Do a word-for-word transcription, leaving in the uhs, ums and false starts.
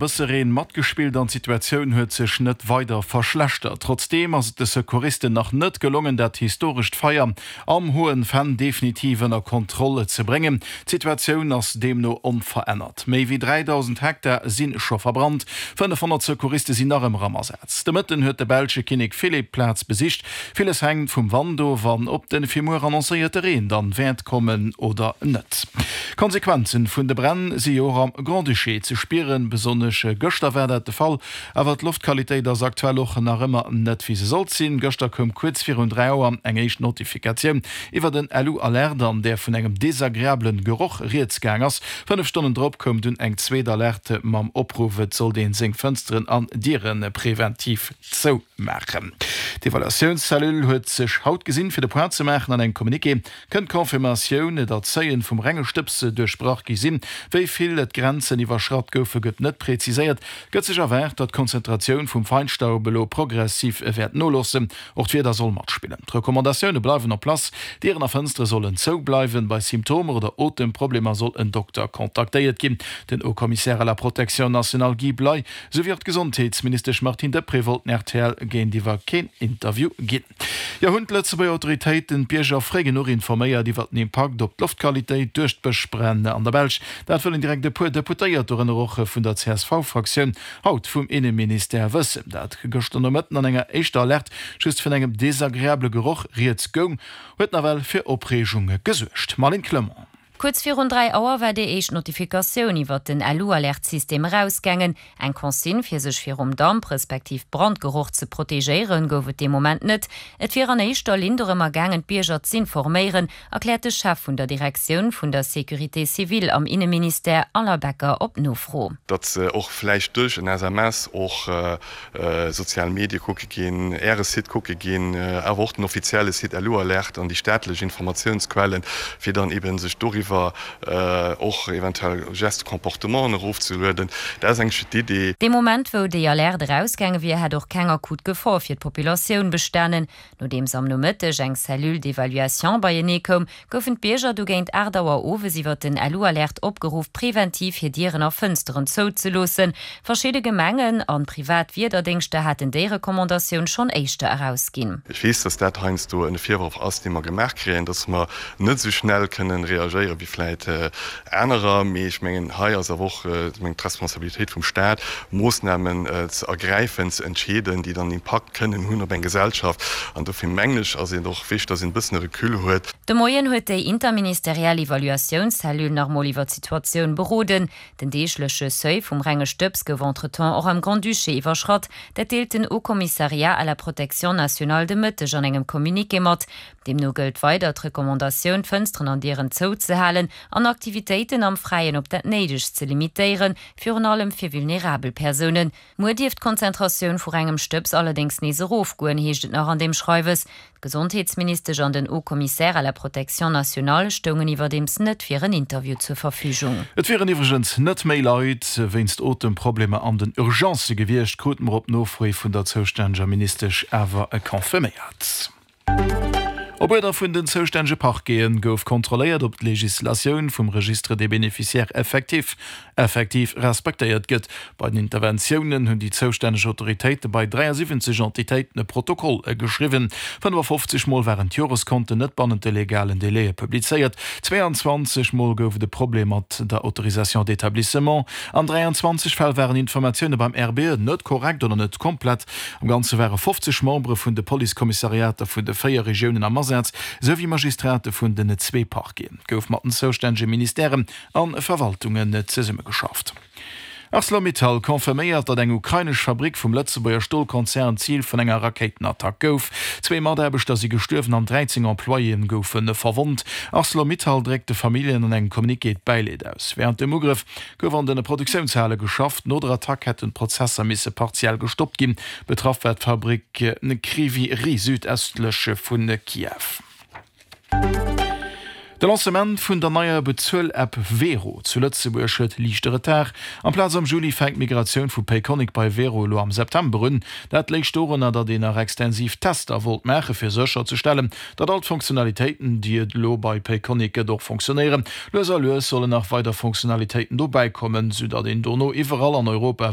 Bësse Reen matgespillt an d'Situatioun huet sech net weider verschlechtert. Trotzdeem ass et de Secouristen nach net gelongen, dat historescht Feier am Hohen Venn definitiv ënner Kontroll ze bréngen. D'Situatioun ass deemno onverännert. Méi wéi dräidausend Hektar si scho verbrannt, fënnefhonnert Secouriste sinn nach ëmmer am Asaz. De Mëtten huet de belsche Kinnek Philippe d'Plaz besicht. Villes hänkt vum Wand of an ob de fir muer annoncéierte Reen dann wäert kommen oder net. D'Konsequenzen vun de Bränn si jo och am Grand-Duché ze spieren, besonnesch gëschter war dat de Fall. Awer d'Loftqualitéit ass aktuell och nach ëmmer net wéi se sollt sinn. Gëschter koum kuerz virun dräi Auer eng éischt Notifikatioun iwwert en L U-Alerte, an där vun engem desagreablen Geroch rieds gaang ass. Fënnef Stonnen drop koum dunn eng zweet Alerte mam Opruff, et sollt een seng Fënsteren an Diere preventiv zoumaachen. D'Evaluatiounscellule huet sech haut gesinn, fir de Point ze maachen. An engem Communiqué kënnt d'Confirmatioun, datt d'Seuilen vum renge Stëbs duerchbrach gi sinn. Wéi vill d'Grenzen iwwerschratt goufe gëtt net präziséiert. Gëtt sech erwaart, datt d'Konzentratioun vum Feinstaub elo progressiv wäert noloossen. Och d'Wieder soll matspillen. D'Recommandatioune bleiwen en place, Dieren a Fënstere sollen zou bleiwen. Bei Symptomer oder Otemproblemer soll en Dokter kontaktéiert ginn. Den Haut-Commissaire à la protection nationale Guy Bley souwéi och d'Gesondheetsministesch Martine Deprez wollten R T L géintiwwer keen Interview ginn. Jo, hunn d'Lëtzebuerger Autoritéiten d'Bierger fréi genuch informéiert iwwer den Impakt op d'Loftqualitéit duerch d'Bëschbränn an der Belsch? Dat wëllen direkt e puer Deputéiert, dorënner och vun der C S V-Fraktioun, haut vum Inneministère wëssen. Dat gëschter Nomëtten an enger éischter Alerte just vun engem desagreabele Geroch rieds goung, huet nawell fir Opreegung gesuergt. Marlene Clement. Kuerz virun dräi Auer war déi éischt Notifikatioun iwwer den L U-Alertsystem erausgaangen. Eng Consigne fir sech virum Damp respektiv Brandgeroch ze protegéieren, gouf et dee Moment net. Et wier an éischter Linn dorëmmer gaangen, d'Bierger z'informéieren, erkläert de Chef vun der Direktioun vun der Sécurité civile am Inneministère Alain Becker op Nofro. Datt se och vläicht duerch en S M S och sozial Medie kucke ginn, Äre Site kucke ginn, awer och den offizielle Site L U-Alert an déi staatlech Informatiounsquellen, fir dann eeben sech doriwwer och eventuell Gestes, Comportementen erofzelueden. Dat ass eigentlech d'Idee. Dee Moment, wou déi Alerte erausgaange wier, hätt och keng akut Gefor fir d'Populatioun bestanen. Nodeems am Nomëtteg eng Cellule d'évaluation beienee koum, goufen d'Bierger du géint aacht Auer owes iwwer den L U-Alert opgeruff, preventiv hir Dieren a Fënsteren zouzeloossen. Verschidde Gemengen an privat Wiederdéngschter haten déi Recommandatioun schonn éischter erausginn. Ech weess, dass dat heiansdo e Virworf ass, dee mer gemaach kréien, dass mer net esou schnell kënnen reagéieren wéi vläit anerer. Mee ech mengen, hei ass awer och d'Responsabilitéit vum Staat, Moossnamen ze ergräifen, ze entscheeden, déi dann Impakt kënnen hunn op eng Gesellschaft. An dofir mengen ech, ass et och wichteg, dass een e bëssen e Recul huet. De Moien huet déi interministeriell Evaluatiounscellule nach mol iwwer d'Situatioun beroden. Den deegleche Seuil vum renge Stëbs gouf entretemps och am Grand-Duché iwwerschratt. Dat deelt den Haut-Commissariat à la protection nationale de Mëtteg an engem Communiqué mat. Deemno gëllt weider d'Recommandatioun, Fënsteren an Dieren zouzehalen an Aktivitéiten am Fräien op dat Néidegst ze limitéieren, virun allem fir vulnerabel Persounen. Muer dierft d'Konzentratioun vu rengem Stëbs allerdéngs nees erofgoen, heescht et nach an deem Schreiwes. D'Gesondheetsministesch an den Haut-Commissaire à la protection nationale stoungen iwwerdeems net fir en Interview zur Verfügung. Et wieren iwwregens net méi Leit wéinst Otemproblemer an den Urgencë gewiescht, krute mer op Nofro vun der zoustänneger Ministesch awer confirméiert. Op Uerder vun den zoustännege Parquete gouf kontrolléiert, ob d'Legislatioun vum Registre des bénéficiaires effectifs effektiv respektéiert gëtt. Bei den Interventiounen hunn déi zoustänneg Autoritéite bei dräiasiwwenzeg Entitéiten e Protokoll geschriwwen. fënnefafofzeg Mol waren d'Joreskonten net bannent de legalen Délaië publizéiert, zweeanzwanzeg Mol gouf et e Problem mat der Autorisation d'établissement, an dräianzwanzeg Fäll waren Informatioune beim R B E net korrekt oder net komplett. Am Ganze ware fofzeg Membere vun de Policekommissariater vun de véier Regiounen am Asaz, esou wéi Magistrate vun den zwee Parqueten. Et gouf mat den zoustännege Ministèren a Verwaltungen zesummegeschafft. ArcelorMittal confirméiert, datt eng ukrainesch Fabrick vum Lëtzebuerger Stolkonzern Zil vun enger Rakéitenattack gouf. Zwee Mataarbechter si gestuerwen an dräizéng Employéen goufe verwonnt. ArcelorMittal dréckt de Familljen an engem Communiqué d'Bäileed aus. Wärend dem Ugrëff gouf an de Produktiounshale geschafft. No der Attack hätten d'Prozesser misse partiell gestoppt ginn. Betraff war d'Fabrick Kryvyi Rih südëstlech vu Kiew. De Lancement vun der neier Bezuel-App Wero zu Lëtzebuerg huet liichte Retard. Amplaz am Juli fänkt d'Migratioun vu Payconiq bei Wero elo am September un. Dat léich dorunner, datt een nach extensiv Tester wollt maache fir sécherzestellen, datt all d'Funktionalitéiten, déi et elo bei Payconiq gëtt, och funktionéieren. Lues a lues sollen nach weider Funktionalitéiten dobäi kommen, sou datt een dono iwwerall an Europa